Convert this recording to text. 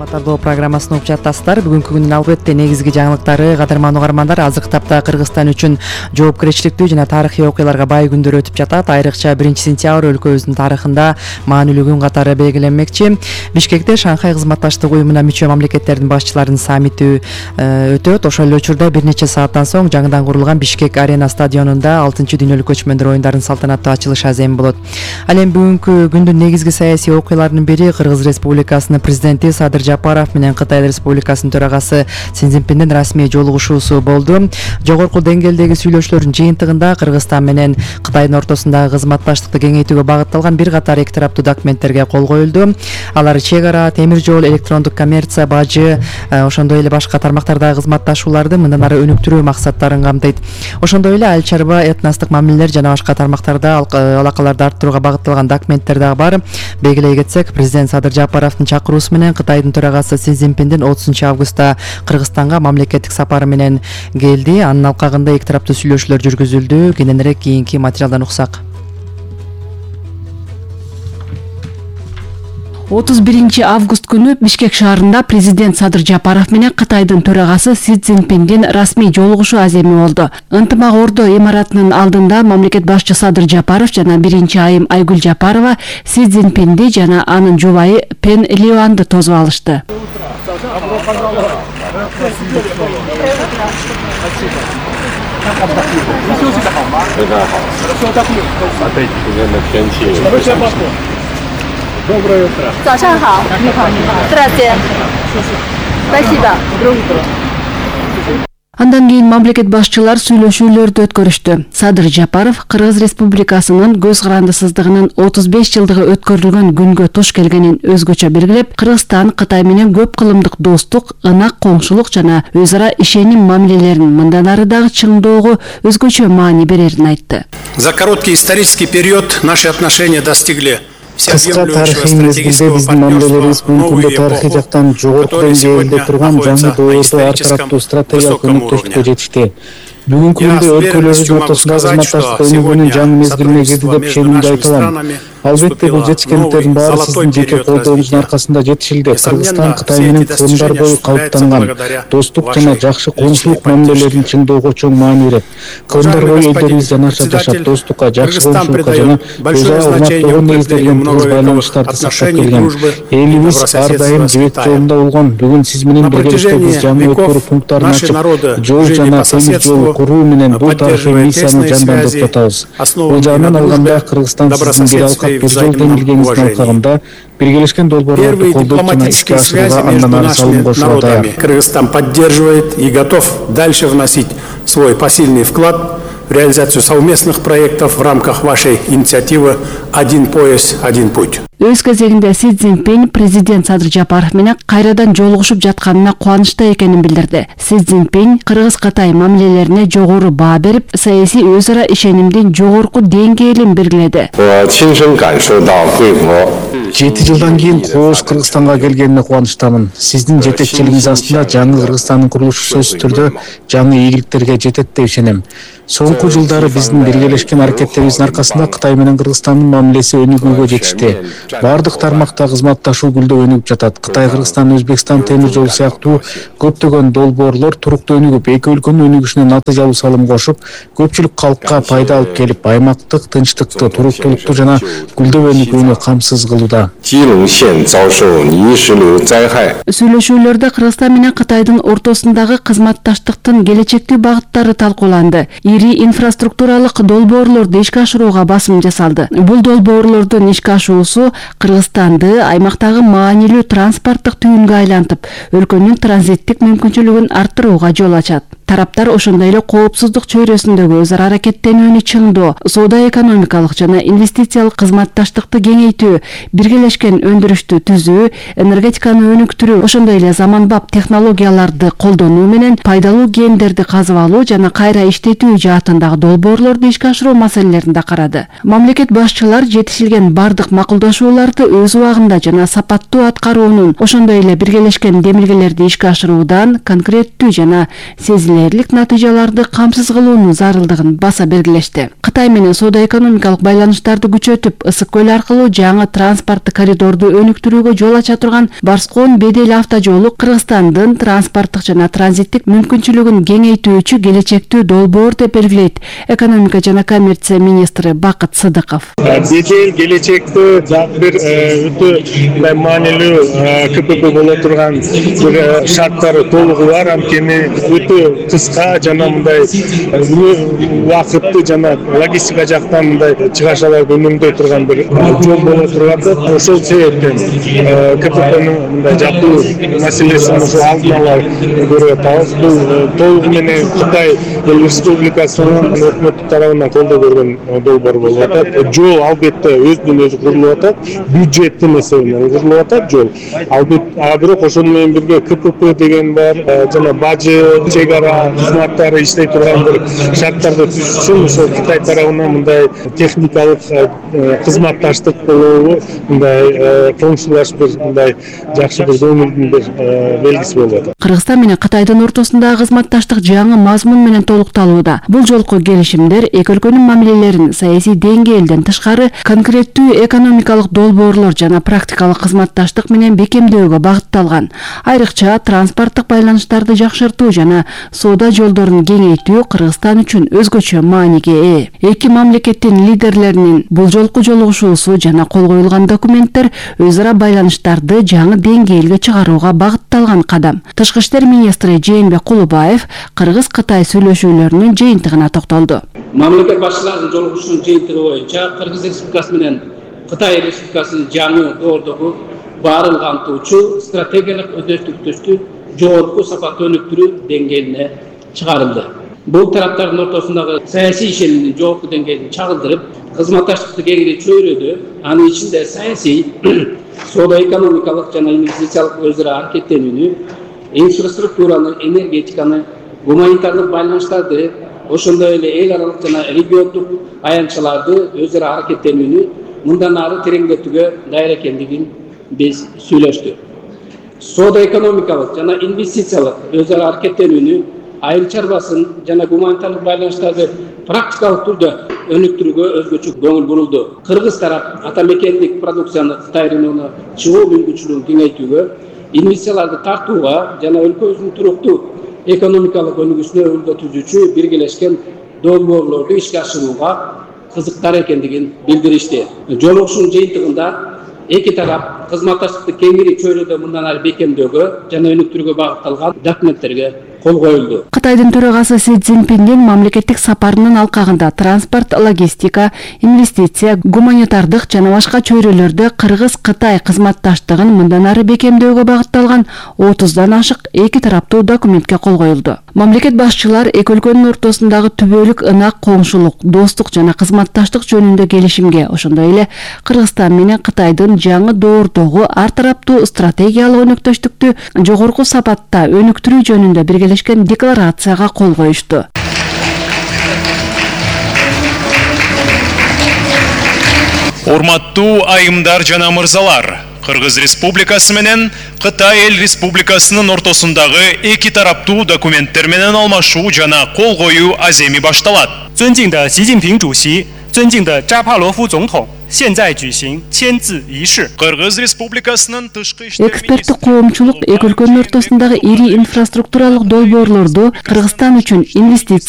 Саламаттардоо программасын угуп жатасыздар. Бүгүнкү күндүн албетте негизги жаңылыктары кадырман угармандар азыркы тапта Кыргызстан үчүн жоопкерчиликтүү жана тарыхый окуяларга бай күндөр өтүп жатат. Айрыкча 1-сентябрь өлкөбүздүн тарыхында маанилүү күн катары белгиленмекчи. Бишкекте Шанхай кызматташтык уюмуна мүчө мамлекеттердин башчыларынын саммити өтөт. Ошол эле учурда бир нече сааттан соң жаңыдан курулган Бишкек арена стадионунда 6-дүйнөлүк көчмөндөр оюндарынын салтанаттуу ачылышы азем болот. Ал эми бүгүнкү күндүн негизги саясий окуяларынын бири Кыргыз Республикасынын президенти Садыр Жапаров менен Кытай Республикасынын төрагасы Си Цзиньпиндин расмий жолугушуусу болду. Жогорку деңгээлдеги сүйлөшүүлөрдүн жыйынтыгында Кыргызстан менен Кытайдын ортосундагы кызматташтыкты кеңейтүүгө багытталган бир катар эки тараптуу документтерге кол коюлду. Алар чек ара, темир жол, электрондук коммерция, бажы, ошондой эле башка тармактардагы кызматташууларды мындан ары өнүктүрүү максаттарын камтыйт. Ошондой эле айыл чарба, этностук мамилелер жана башка тармактарда алакаларды арттырууга багытталган документтер дагы бар. Белгилей кетсек, президент Садыр Жапаровдун чакыруусу менен Кытайдын төрагасы Си Цзиньпиндин 30-августта Кыргызстанга мамлекеттик сапары менен келди. Анын алкагында эки тараптуу сүйлөшүүлөр жүргүзүлдү. Кененирээк кийинки материалдан уксак. 31 август күнү Бишкек шаарында президент Садыр Жапаров менен Кытайдын төрагасы Си Цзиньпиндин расмий жолугушуу аземи болду. Ынтымак ордо имаратынын алдында мамлекет башчы Садыр Жапаров жана биринчи айым Айгүл Жапарова Си Цзиньпинди жана анын жубайы Пен Лиюанды тосуп алышты. Доброе утро. 早上好。Здравствуйте. Спасибо. Андан кийин мамлекет башчылар сүйлөшүүлөрдү өткөрүштү. Садыр Жапаров Кыргыз Республикасынын көз карандысыздыгынын 35 жылдыгы өткөрүлгөн күнгө туш келгенин өзгөчө белгилеп, Кыргызстан Кытай менен көп кылымдык достук, ынак коңшулук жана өз ара ишеним мамилелерин мындан ары дагы чыңдоого өзгөчө маани берерин айтты. За короткий исторический период наши отношения достигли кыска тарыхый мезгилде биздин мамилелерибиз бүгүнкү күндө тарыхый жактан жогорку деңгээлде турган жаңы доордо ар тараптуу стратегиялык өнөктөштүккө жетишти. Бүгүнкү күндө өлкөлөрүбүз ортосундагы кызматташтык өнүгүүнүн жаңы мезгилине кирди деп ишенимде айта алам. Албетте бул жетишкендиктердин баары сиздин жеке колдооңуздун аркасында жетишилди. Кыргызстан Кытай менен кылымдар бою калыптанган достук жана жакшы коңшулук мамилелерин чыңдоого чоң маани берет. Кылымдар бою элдерибиз жанаша жашап, достукка, жакшы коңшулукка жана өз ара урматтоого негизделген тыгыз байланыштарды сактап келген. Элибиз ар дайым жибек жолунда болгон. Бүгүн сиз менен биргеликте биз жаңы өткөрүү пункттарын ачып, жол жана темир жол куруу менен бул тарыхый миссияны жандандырып жатабыз. Бул жагынан алганда Кыргызстан сиздин бир алкап бир жол демилгениңиздин алкагында биргелешкен долбоорлорду колдоп жана ишке ашырууга андан ары салым кошууга даяр. Кыргызстан поддерживает и готов дальше вносить свой посильный вклад в реализацию совместных проектов в рамках вашей инициативы «Один пояс, один путь». Өз кезегинде Си Цзиньпин президент Садыр Жапаров менен кайрадан жолугушуп жатканына кубанычта экенин билдирди. Си Цзиньпин Кыргыз-Кытай мамилелерине жогору баа берип, саясий өз ара ишенимдин жогорку деңгээлин белгиледи. 7 жылдан кийин кооз Кыргызстанга келгенине кубанычтамын. Сиздин жетекчилигиңиз астында жаңы Кыргызстандын курулушу сөзсүз түрдө жаңы ийгиликтерге жетет деп ишенем. Соңку жылдары биздин биргелешкен аракеттерибиздин аркасында Кытай менен Кыргызстандын мамилеси өнүгүүгө жетишти. Бардык тармакта кызматташуу гүлдөп өнүгүп жатат. Кытай, Кыргызстан, Өзбекстан темир жолу сыяктуу көптөгөн долбоорлор туруктуу өнүгүп, эки өлкөнүн өнүгүшүнө натыйжалуу салым кошуп, көпчүлүк калкка пайда алып келип, аймактык тынчтыкты, туруктуулукту жана гүлдөп өнүгүүнү камсыз кылууда. Сүйлөшүүлөрдө Кыргызстан менен Кытайдын ортосундагы кызматташтыктын келечектүү багыттары талкууланды. Ири инфраструктуралык долбоорлорду ишке ашырууга басым жасалды. Бул долбоорлордун ишке ашуусу Кыргызстанды аймактагы маанилүү транспорттук түйүнгө айлантып, өлкөнүн транзиттик мүмкүнчүлүгүн арттырууга жол ачат. Тараптар ошондой эле коопсуздук чөйрөсүндөгү өз ара аракеттенүүнү чыңдоо, соода-экономикалык жана инвестициялык кызматташтыкты кеңейтүү, биргелешкен өндүрүштү түзүү, энергетиканы өнүктүрүү, ошондой эле заманбап технологияларды колдонуу менен пайдалуу кендерди казып алуу жана кайра иштетүү жаатындагы долбоорлорду ишке ашыруу маселелерин да карады. Мамлекет башчылар жетишилген бардык макулдашуу жолдошууларды өз убагында жана сапаттуу аткаруунун, ошондой эле биргелешкен демилгелерди ишке ашыруудан конкреттүү жана сезилерлик натыйжаларды камсыз кылуунун зарылдыгын баса белгилешти. Кытай менен соода-экономикалык байланыштарды күчөтүп, Ысык көл аркылуу жаңы транспорттук коридорду өнүктүрүүгө жол ача турган Барскон-Бедел автожолу Кыргызстандын транспорттук жана транзиттик мүмкүнчүлүгүн кеңейтүүчү келечектүү долбоор деп белгилейт экономика жана коммерция министри Бакыт Сыдыков. Бедел келечекте бир өтө маанилүү КПП боло турган бир шарттары толугу бар, анткени өтө кыска жана мындай убакытты жана логистика жактан мындай чыгашаларды үнөмдөй турган бир жол боло турат. Ошол себептен КППнын мындай жапуу маселесин ошо алдын ала көрүп атабыз. Бул толугу менен Кытай Республикасынын өкмөтү тарабынан колдоо көргөн долбоор болуп атат. Жол албетте өзүнөн өзү курулуп атат, бюджеттин эсебинен курулуп атат жол. Албетте, бирок ошону менен бирге КПП деген бар, жана бажы, чек ара кызматтары иштей турган бир шарттарды түзүш үчүн ошол Кытай тарабынан мындай техникалык кызматташтык болобу, мындай коңшулаш бир мындай жакшы бир көңүлдүн бир белгиси болуп атат. Кыргызстан менен Кытайдын ортосундагы кызматташтык жаңы мазмун менен толукталууда. Бул жолку келишимдер эки өлкөнүн мамилелерин саясий деңгээлден тышкары конкреттүү экономикалык долбоорлор жана практикалык кызматташтык менен бекемдөөгө багытталган. Айрыкча транспорттук байланыштарды жакшыртуу жана соода жолдорун кеңейтүү Кыргызстан үчүн өзгөчө мааниге ээ. Эки мамлекеттин лидерлеринин бул жолку жолугушуусу жана кол коюлган документтер өз ара байланыштарды жаңы деңгээлге чыгарууга багытталган кадам. Тышкы иштер министри Жээнбек Кулубаев Кыргыз-Кытай сүйлөшүүлөрүнүн жыйынтыгына токтолду. Мамлекет башчыларынын жолугушуусунун жыйынтыгы боюнча Кыргыз Республикасы менен Кытай Республикасынын жаңы доордогу баарын камтуучу стратегиялык өздөштүктүштү жогорку сапаттуу өнүктүрүү деңгээлине чыгарылды. Бул тараптардын ортосундагы саясий ишенимдин жогорку деңгээлин чагылдырып, кызматташтыкты кеңири чөйрөдү, анын ичинде саясий, соода-экономикалык жана инвестициялык өз ара аракеттенүүнү, инфраструктураны, энергетиканы, гуманитардык байланыштарды, ошондой эле эл аралык жана региондук аянтчаларды өз ара аракеттенүүнү мындан ары тереңдетүүгө даяр экендигин биз сүйлөштүк. Соода-экономикалык жана инвестициялык өз ара аракеттенүүнү, айыл чарбасын жана гуманитардык байланыштарды практикалык түрдө өнүктүрүүгө өзгөчө көңүл бурулду. Кыргыз тарап ата мекендик продукцияны Кытай рыногуна чыгуу мүмкүнчүлүгүн кеңейтүүгө, инвестицияларды тартууга жана өлкөбүздүн туруктуу экономикалык өнүгүүсүнө өбөлгө түзүүчү биргелешкен долбоорлорду ишке ашырууга кызыктар экендигин билдиришти. Жолугушуунун жыйынтыгында эки тарап кызматташтыкты кеңири чөйрөдө мындан ары бекемдөөгө жана өнүктүрүүгө багытталган документтерге кол коюлду. Кытайдын төрагасы Си Цзиньпиндин мамлекеттик сапарынын алкагында транспорт, логистика, инвестиция, гуманитардык жана башка чөйрөлөрдө Кыргыз-Кытай кызматташтыгын мындан ары бекемдөөгө багытталган 30дан ашык эки тараптуу документке кол коюлду. Мамлекет башчылар эки өлкөнүн ортосундагы түбөлүк ынак коңшулук, достук жана кызматташтык жөнүндө келишимге, ошондой эле Кыргызстан менен Кытайдын жаңы доордогу ар тараптуу стратегиялык өнөктөштүктү жогорку сапатта өнүктүрүү жөнүндө биргелешкен декларацияга кол коюшту. Урматтуу айымдар жана мырзалар, Кыргыз Республикасы менен Кытай Эл Республикасынын ортосундагы эки тараптуу документтер менен алмашуу жана кол коюу аземи башталат. 尊敬的习近平主席，尊敬的扎帕罗夫总统，现在举行签字仪式。 Кыргыз Республикасынын тышкы иштер Эксперттик коомчулук эки өлкөнүн ортосундагы ири инфраструктуралык долбоорлорду Кыргызстан үчүн инвестиция